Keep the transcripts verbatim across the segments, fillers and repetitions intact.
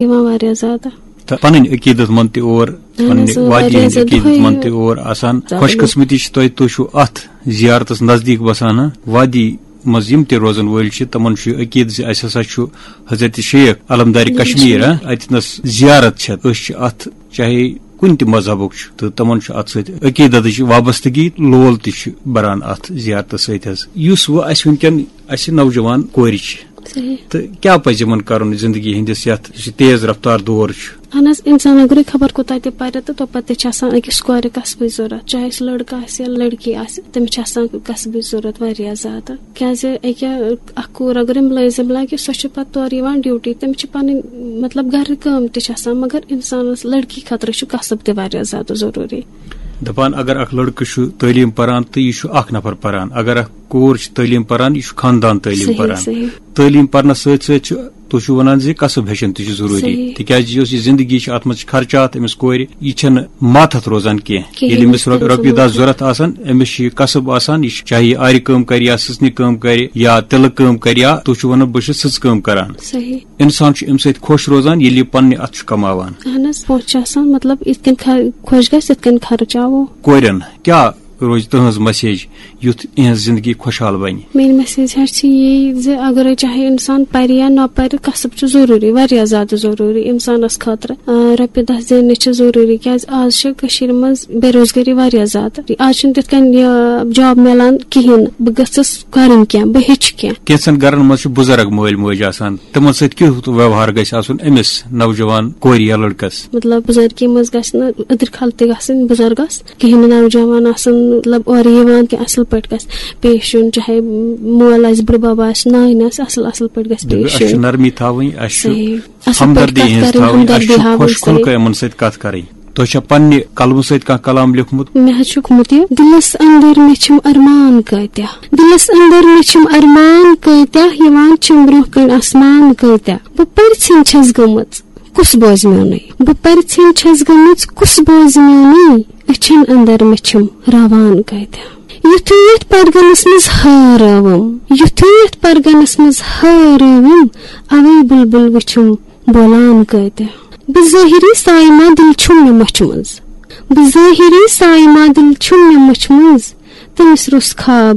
یِوان واریاہ زیادٕ۔ تہٕ پنٕنۍ عقیٖدت مند تہِ اور، اہن حظ، پننہِ اۭں، وادی واریاہ ہٕنٛدۍ زیادٕ عقیٖدت دۄہے مند تہِ اور آسان۔ زیادٕ۔ خوش قسمتی چھِ تۄہہِ، تُہۍ چھِو اتھ زیارتس نزدیٖک بسان، ہاں؟ وادی منٛز یِم تہِ روزن وٲلۍ چھِ، تِمن چھُ یہِ عقیٖدٕ زِ اسہِ ہسا چھُ حضرت شیخ علمدار کشمیر، ہاں، اتہِ نس زیارت چھےٚ۔ أسۍ چھِ اتھ چاہے کُنہِ تہِ مذہبُک چھُ، تہٕ تِمن چھُ اتھ سۭتۍ عقیٖدتٕچ وابستگی، لول تہِ چھُ بران اتھ زیارتس سۭتۍ حظ۔ یُس وۄنۍ اسہِ وٕنکیٚن اسہِ نوجوان کورِ چھِ، صحیح۔ تہٕ کیٛاہ پزِ یِمن کرُن زندگی ہٕنٛدِس یتھ یُس یہِ تیز رفتار دور چھُ؟ اہن حظ، انسان اگرے خبر کوٗتاہ تہِ پرِ تہٕ توپتہٕ تہِ چھِ آسان أکِس کورِ کسبٕچ ضروٗرت، چاہے سُہ لڑکہٕ آسہِ یا لڑکی آسہِ، تٔمِس چھِ آسان کسبٕچ ضروٗرت واریاہ زیادٕ۔ کیازِ أکیاہ اکھ کوٗر اگرے مُلٲزم لگہِ، سۄ چھِ پتہٕ تورٕ یِوان ڈیوٹی، تٔمِس چھِ پنٕنۍ، مطلب، گرٕ کٲم تہِ چھِ آسان، مگر انسانس لڑکی خٲطرٕ چھُ کسب تہِ واریاہ زیادٕ ضروٗری۔ دپان اگر اکھ لڑکہٕ چھُ تعلیٖم پران تہٕ یہِ چھُ اکھ نفر پران، اگر اکھ کوٗر چھِ تعلیٖم پران، یہِ چھُ خاندان تعلیٖم صحیح، پران۔ صحیح۔ تعلیٖم پرنس سۭتۍ سۭتۍ چھُ، تُہۍ چھِو ونان زِ کسب ہیٚچھُن تہِ چھُ ضروٗری، صحیح۔ تِکیازِ یۄس یہِ زندگی چھِ، اتھ منٛز چھِ خرچات أمِس کورِ، یہِ چھَنہٕ ماتحت روزان کینٛہہ۔ کِہیٖنۍ، ییٚلہِ أمِس رۄ-، کِہیٖنۍ رۄپیہِ دہ چھَنہٕ۔ ضروٗرت آسان، أمِس چھِ یہِ کسب آسان، یہِ چھُ چاہے یہِ آرِ کٲم کرِ یا سٕژنہِ کٲم کرِ یا تِلہٕ کٲم کرِ یا تُہۍ چھِو ونان بہٕ چھُس سٕژ کٲم کران۔ صحیح۔ انسان چھُ امہِ سۭتۍ خۄش روزان ییٚلہِ یہِ پننہِ اتھٕ چھُ کماوان۔ اہن حظ، پونٛسہٕ چھُ آسان، مطلب، یِتھ کٔنۍ خر-، خۄش گژھِ، تِتھ کٔنۍ خرچاوو۔ کورٮ۪ن کیٛاہ روزِ تُہنٛز مسیج یُتھ اِہنٛز زندگی خۄشحال بنہِ؟ میٲنۍ مسیج حظ چھِ یی زِ اگرے چاہے انسان پرِ یا نہ پرِ، کسب چھُ ضروٗری، واریاہ زیادٕ ضروٗری انسانس خٲطرٕ۔ آ، رۄپیہِ دہ زیننہِ چھِ ضروٗری، کیازِ آز چھِ کٔشیٖرِ منٛز بے روزگٲری واریاہ زیادٕ۔ آز چھُنہٕ تِتھ کٔنۍ یہِ جاب میلان کِہیٖنۍ۔ بہٕ گٔژھٕس کرٕنۍ کینٛہہ، بہٕ ہیٚچھِ کینٛہہ۔ کینٛژن گرن منٛز چھِ بُزرگ مٲلۍ مٲج آسان، تِمن سۭتۍ کیُتھ ویوہار گژھِ آسُن أمِس نوجوان کورِ یا لٔڑکس؟ مطلب، بُزرگی منٛز گژھِ نہٕ أدٕر کھل تہِ گژھٕنۍ بُزرگس، کِہیٖنۍ نہٕ نوجوان آسُن، مطلب، اورٕ یِوان تہِ اصل پٲٹھۍ گژھِ پیش یُن، چاہے مول آسہِ، بُڈٕ بب آسہِ، نانۍ آسہِ، اصل اصل پٲٹھۍ گژھِ دَپہِ، پیش اَسہِ چھِ یُن۔ نرمی تھاوٕنۍ، اَسہِ چھُ صحیح۔ اصل پٲٹھۍ ہمدردی کتھ ہٕنٛز کرٕنۍ، تھاوٕنۍ، اَسہِ ہمدردی چھُ ہاوٕنۍ خۄش کھُل صحیح۔ کَے یِمن سۭتۍ کتھ کرٕنۍ۔ تۄہہِ چھا پننہِ قلمہٕ سۭتۍ کانٛہہ کلام لیوٚکھمُت؟ مےٚ حظ چھُ لیوٚکھمُت یہِ، دِلس اندر مےٚ چھِم ارمان کۭتیاہ، دِلس اندر مےٚ چھِم ارمان کۭتیاہ، یِوان چھِم برونٛہہ کنہِ آسمان کۭتیاہ۔ بہٕ پرِژھٕنۍ چھَس گٔمٕژ، کُس بوزِ میونُے؟ بہٕ پرِژھٕنۍ چھَس گٔمٕژ، کُس بوزِ میونُے؟ أچھن اندر مےٚ چھِم راوان کۭتیاہ۔ یُتھُے یتھ پرگنس منٛز ہٲر رٲوٕم، یُتھُے یتھ پرگنس منٛز ہٲر رٲوٕم، اوے بلبل وٕچھِم بولان کۭتیاہ۔ بظٲہری سایہِ ما دِل چھُم مےٚ مۄچھِ منٛز، بظٲہری سایہِ ما دِل چھُم مےٚ مۄچھِ منٛز، تٔمِس روٚس خواب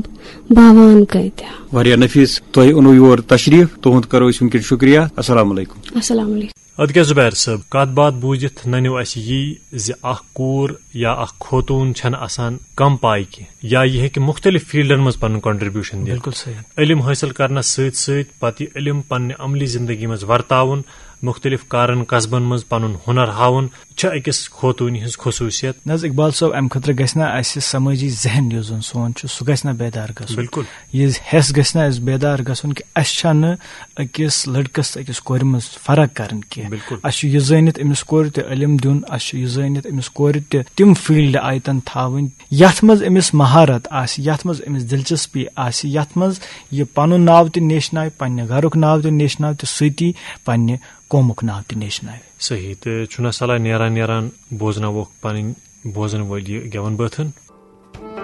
باوان کۭتیاہ۔ واریاہ نفیٖس، تۄہہِ اوٚنوٕ یور تشریٖف، تُہُنٛد کرو أسۍ وٕنکیٚن شُکریہ۔ السلام علیکم۔ السلام علیکم۔ ادٕ کیٛاہ زُبیر صٲب، کتھ باتھ بوٗزِتھ ننیو اسہِ یی زِ اکھ کوٗر یا اکھ خوتوٗن چھنہٕ آسان کم پایہِ کینٛہہ، یا یہِ ہیٚکہِ مختلف فیلڈن منٛز پنُن contribution دِتھ۔ بِلکُل صحیح۔ علم حٲصِل کرنس سۭتۍ سۭتۍ پتہٕ یہِ علم پننہِ عملی زندگی منٛز ورتاوُن، مختلف کارن کسبن منٛز پنُن ہُنر ہاوُن، چھِ أکِس خوتوٗنہِ ہٕنٛز خصوٗصیت۔ نہ حظ اقبال صٲب، امہِ خٲطرٕ گژھِ نہ اسہِ سمٲجی ذہن یُس زن سون چھُ، سُہ گژھِ نہ بیدار گژھُن۔ بِلکُل۔ یہِ حٮ۪س گژھِ نہ اسہِ بیدار گژھُن کہِ اسہِ چھنہٕ أکِس لڑکس تہٕ أکِس کورِ منٛز فرق کرٕنۍ کینٛہہ۔ بِلکُل۔ اسہِ چھُ یہِ زٲنِتھ أمِس کورِ تہِ علم دیُن، اسہِ چھُ یہِ زٲنِتھ أمِس کورِ تہِ تِم فیلڈ آیتن تھاوٕنۍ، یتھ منٛز أمِس مہارت آسہِ، یتھ منٛز أمِس دلچسپی آسہِ، یتھ منٛز یہِ پنُن ناو تہِ نیشناوِ، پننہِ گرُک ناو تہِ نیشناوِ تہٕ سۭتی پننہِ قومُک ناو تہِ نیشناوِ۔ صحیح، تہٕ چھُنہ صلاح نیران نیران بوزناووکھ پنٕنۍ بوزن وٲلۍ یہِ گٮ۪وَن بٲتھن۔